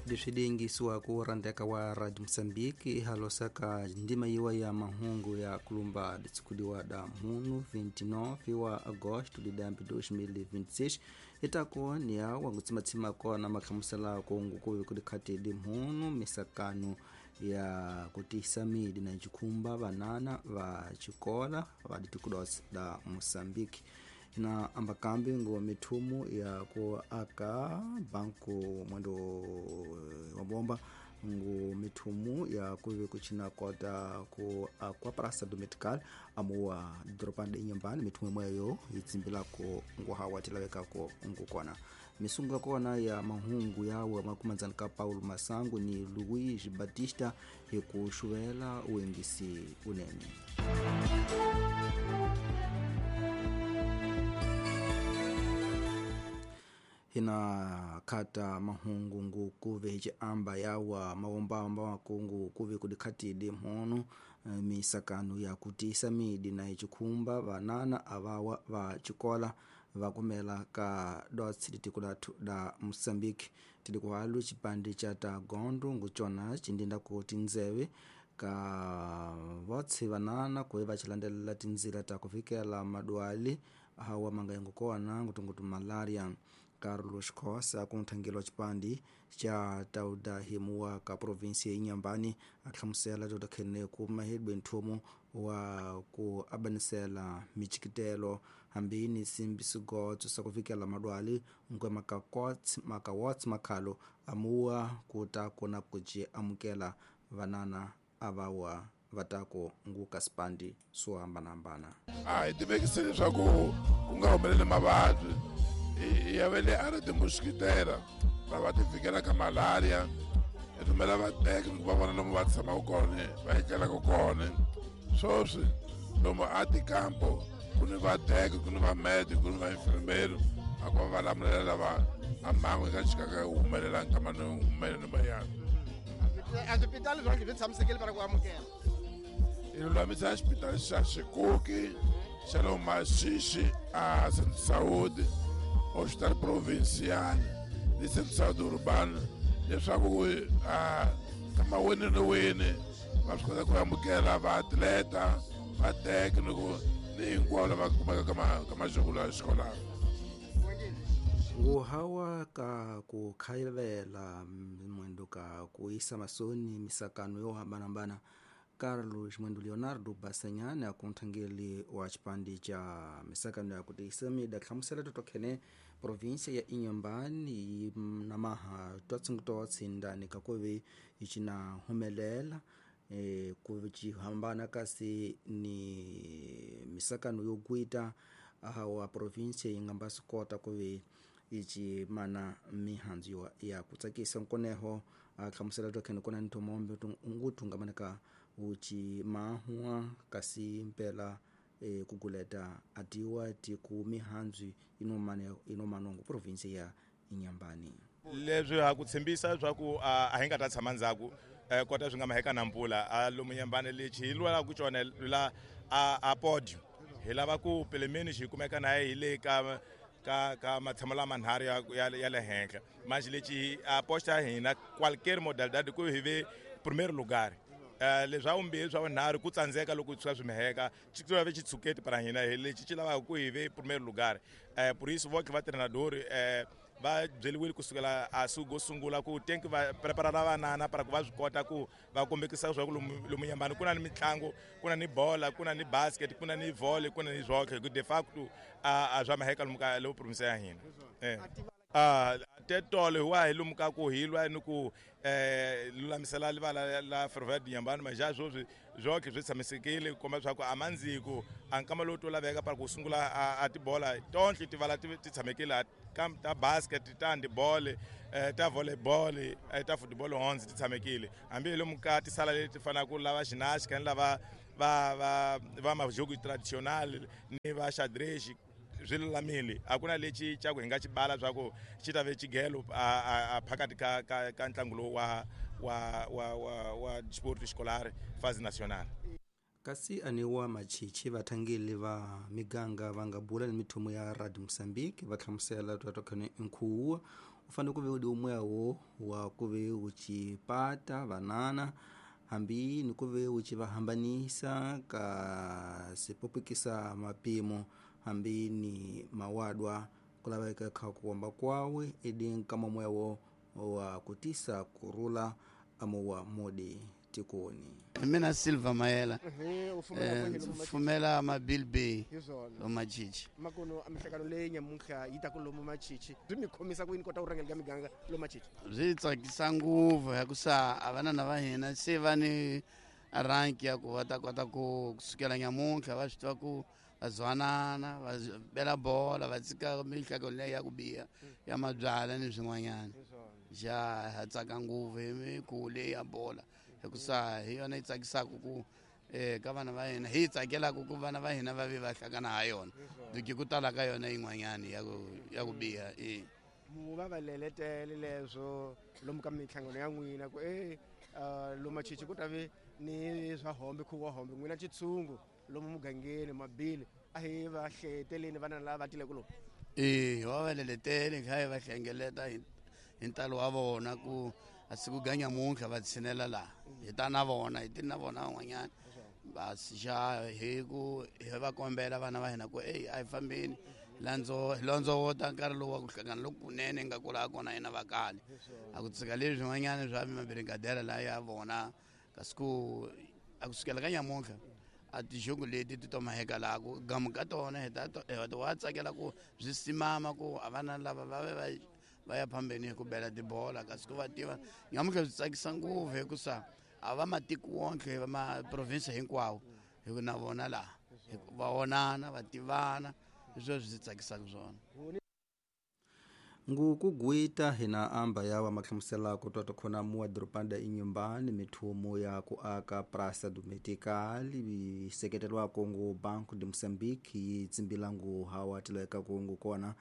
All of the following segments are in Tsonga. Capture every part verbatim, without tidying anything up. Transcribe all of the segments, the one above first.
Leswi liyingisiwaka rhandeka wa Radio Moçambique ihalosaka ndima yiwa ya mahungu ya kulumba ditsikudiwa da munu vinte e nove wa agosto de dois mil e vinte e seis itako ni awa ngutsimatsima kona makhamusela kungukuvi kudikhati di munu misakano ya kutisa midi na cikhumba vanana va cikola va ditikudos da Moçambique na ambakambi ngo mithumu ya ku aka banku mwendo wa bomba ngo mithumu ya kuve kuchina kota ku akwa praça do medical amuwa dropande inyambani mithumu mweyo itsimbilako ngo hawa tilawekako ngukona misungu ya kona ya mahungu yawe makumanzani ka Paulo Masangu ni Luiz Batista hikuxuvela uengisi unene. Hina kata mahungu ngu kuve hichi amba yawa mawomba amba wakungu kuve kudikhatidi mhono misakano ya kutisa midi na hichikhumba vanana avawa va chikola vakumela ka dots litikulatu da Moçambique tilikuhalu chipande cha tagondo nguchona chindinda ku tinzewe ka votse vanana kuve vachilandelela tinzila ta kufikela madwali hawa mangayengo kona ngutungutu malaria. Carlos Khosa kunthangelo chipandi cha tauda himuwa ka provinsi ya Inhambane ahlamusela totakhene ku mahedwe nthumu wa ku abanisela michikitelo hambini simbi sigotso sa kufikela madwali nkwe makakots makawots makhalo amuwa kuta kona kuji amukela vanana avawa vatako nguka sipandi swo hambanahambana. A hi tivekise leswaku ku nga humeleli mavabyi ya vele a ri timosquitera va va ti fikela ka malaria hi rhumela vateki ku va vona lomu va tshamaka kona va etlelaka kona sweswi lomu a tikampo ku ni vateki ku ni vamedi ku ni vainfirmeri a ku va va lamulela lava a mhangu yi nga chikaka yi humelela nkama ni humeleni mayana a swipitali swa swi tshamisekile para ku amukela hi lulamisa xipitali xa Xikuki xa le Masixi a Centro Saúde Hospital Provincial ni Centro Saúde Urbano leswaku a kama wini ni wini va swi kota ku amukela vaatleta vateki ni ku ni hinkwavo lava kumeka ka ma ka majoko ya xikolano. Nguhawa ka ku khayivela mwendo ka ku isa masoni misakano yo hambanahambana Carlos Mwendo Leonardo Basanyane akunthangeli wa chipandi cha misakano ya kutisa mida hlamusela totokhene provinsia ya Inhambane na maha twatsingutoatsi ndani kakuve ichina humelela e, kuchihambana kasi ni misakano yokuita ahawa provinsia ingamba sikota kuve ichi mana mihanzu ya kutsakisa nkoneho ahlamusela tokhene kona nthomombe unguthungamanaka uchi mahua kasi mpela e, kuguleta atiwa tiku mihanzu inomane inomanongo province ya Inhambane. Leswi ha ku tshembisa leswaku a hi nga ta tshama ndzhaku kota swi nga maheka na mpfula a lomu Inhambane lexi hi lwelaka ku cona la a podium hi lava ku pelemeni xi kumeka na hi le ka ka ka matshamo lama nharhu ya ya le henhla manje lexi a posta hina qualquer modalidade ku hi ve primeiro lugar. Uh, leswi vumbirhi swa vunharhu ku tsandzeka loko swi swi miheka xi ve xitshuketi para hina hi lexi xi lavaka ku hi ve primeiro lugar. uh, por isso voke va treinador uh, va byeliwile kusukela a sugo sungula ku tenki va preparara vanana para ku va swi kota ku va kombekisa leswaku lomu lomu Inhambane ku na ni mitlangu ku na ni bola ku na ni basket ku na ni volley ku na ni zwoke ku de facto a swa maheka lomu ka lomu province ya hina. eh. Ah tetolo wa hi lomu ka ku hi lwa ni ku eh lulamisela livala la Ferroviária de Inhambane mas já sweswi zwoke swi tshamisekile ku komba leswaku a mandziko a nkama lowu to laveka para ku sungula a tibola tonhle tivala ti tshamekile ta basket ta handball ta volleyball ta football honzi ti tshamekile hambi hi lomu ka tisala leti fanaka lava ginástica ni lava va va va majogo traditional ni va xadrez swi lulamile a ku na lexi xa ku hi nga xi bala swa ku xi ta ve xigelo a phakathi ka ka ka ntlangu lowu wa wa wa wa wa sport escolar fase nacional. Kasi aniwa machichi vathangeli va miganga va nga bula ni mithumu ya Radio Moçambique va hlamusela twatokhene nkhuwa Ufanele kuve udi umwewo wa kuve uchipata vanana hambi ni kuve uchivahambanisa ka sipopikisa mapimo hambi ni mawadwa kulaveka kha kuomba kwawe edi nkama mwewo wa kutisa kurula amuwa modi tikoni. Mina Silva Mayela fumela ma-Bill Bay lomachichi makono amihlangano leyi nyamuntlha yi ta ku lomu machichi byi mi khomisa ku yini kota ku rhangela ka miganga lomachichi? Byi tsakisa ngopfu hikusa a vanana va hina se va ni rank ya ku va ta kota ku kusukela nyamuntlha va swi tiva ku va zwanana va bela bola va tshika mihlangano leyi ya ku biha ya mabyala ni swin'wanyana. Ja ha tsaka ngopfu hi mikhuvo leyi ya bola hikusa hi yona yi tsakisaka ku eh ka vana va hina hi tsakelaka ku vana va hina va ve va hlangana ha yona duki ku tala ka yona yin'wanyana ya ku ya ku biha. E mu va va leletele leswo lomu ka minhlangano ya n'wina ku e lomachichi ku ta ve ni swa hombe khuvo wa hombe n'wina chitshungu lomu mugangeni mabili a hi va hleteleni vana lava va tileke lomu? E va va leletele kha hi va hlengeleta hi hi ntalo wa vona ku a siku ga nyamuntlha va tshinela laha hi ta na vona hi ti na vona van'wanyana va xa hi ku hi va kombela vana va hina ku eyi a hi fambeni landzo hi londzovota nkarhi lowu wa ku hlangana lokunene hi nga kula kona hina va kale a ku tshika leswi swin'wanyana swa mabirigadera laha ya vona kasi ku a kusukela ka nyamuntlha a tixungu leti ti to maheka laha ku gamu ka tona hi ta wa tsakela ku byi simama ku a vana lava va ve va va ya phambeni hi ku bela tibola kasi ku va tiva nyamuntlha byi tsakisa ngopfu hikusa a va matiko wonke va maprovinsi hinkwawo hi ku na vona laha va vonana va tivana hi sweswo swi tsakisaka swona. Ngukugwita hina amba yawa mahlamusela ku twa khona muwa doropanda inyumbani mithumo ya ku aka Praça do Metical yi seketelwako ngu Banco de Moçambique yi tsimbila ngu hawa tileka ku ngu kona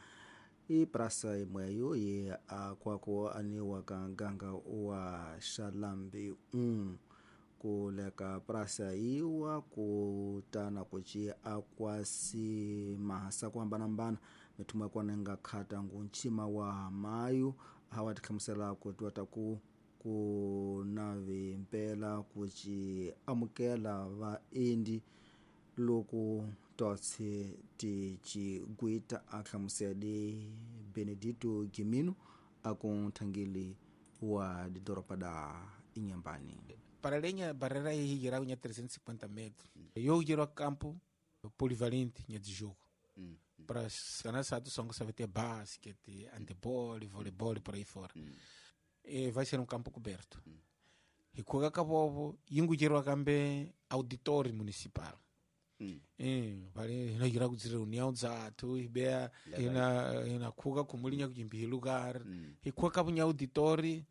i praça imweyo ye akwako aniwa ka nganga wa Xalambi um kuleka praça iwa kutana kuci akwasi mahasa ku hambanahambana mithumo ya kona nga khata ngu nchima wa mayu hawa tikhamusela ku twa ta ku ku na vimpela kuci amukela vaendi loko totse ti cigwita a hlamusele Benedito Gimino a ku nthangeli wa didoropa da Inhambane. Para além a barreira aí geral tinha trezentos e cinquenta metros. Eu gero campo polivalente tinha de jogo. Mm. Para sanar só que ter basquete, handebol, voleibol por aí fora. Mm. E vai ser um campo coberto. Mm. E com acabou, ingo gero cambe auditório municipal. Mm. Eh, vale, ina gira ku reunião dzathu ibea ina ina khuka kumulinya kujimbi lugar. Mm. E kwa kabunya auditório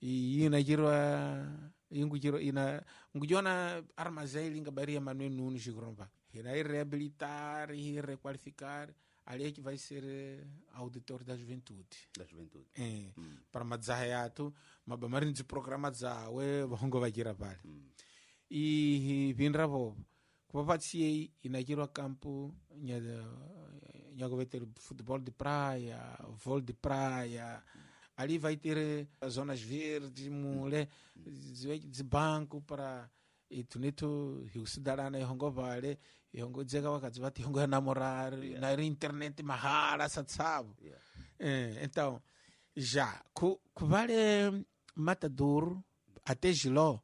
e ina gira ingujiro ina ngujona armazém linga baria Manuel Nunes Gromba. Ina ir reabilitar e requalificar ali é que vai ser auditor da juventude. Da juventude. É, mm. Para madzahayato, mabamarin de programa dzawe bongo vai gira pale. Mm. E vinra bobo. Kupapatsiei inajirwa campo nya nya ter futebol de praia, vôlei de praia. Ali vai ter zonas verdes, mule, de banco para e tunito hiusidarana ihongo vale, ihongo dzeka wakadzi vati ihongo namorar, yeah. Na internet mahala satsabo. Yeah. É, então, já ku ku vale Matador até Giló,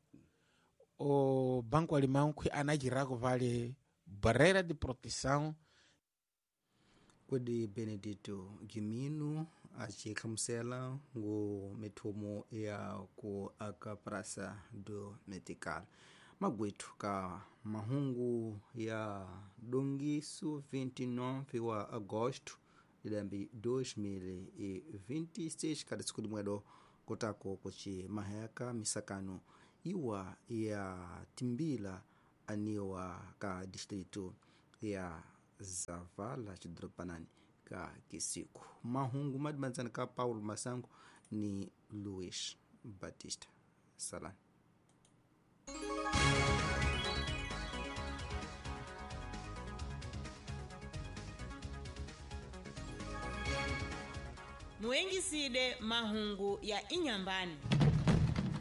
o Banco Alemão que anagirako vale barreira de proteção. Kodi Benedito Gimino acihlamusela ngu mithumo ya ku aka Praça do Metical. Magwethu ka mahungu ya dongiso vinte e nove wa agosto de lembe dois mil e vinte e seis kada siku dimwedo kotako kuci maheka misakano iwa ya timbila aniwa ka distrito ya Zavala xidoropanani ka Kisiku. Mahungu madimandzana ka Paulo Masango ni Luis Batista. Salani. Muengiside mahungu ya Inhambane.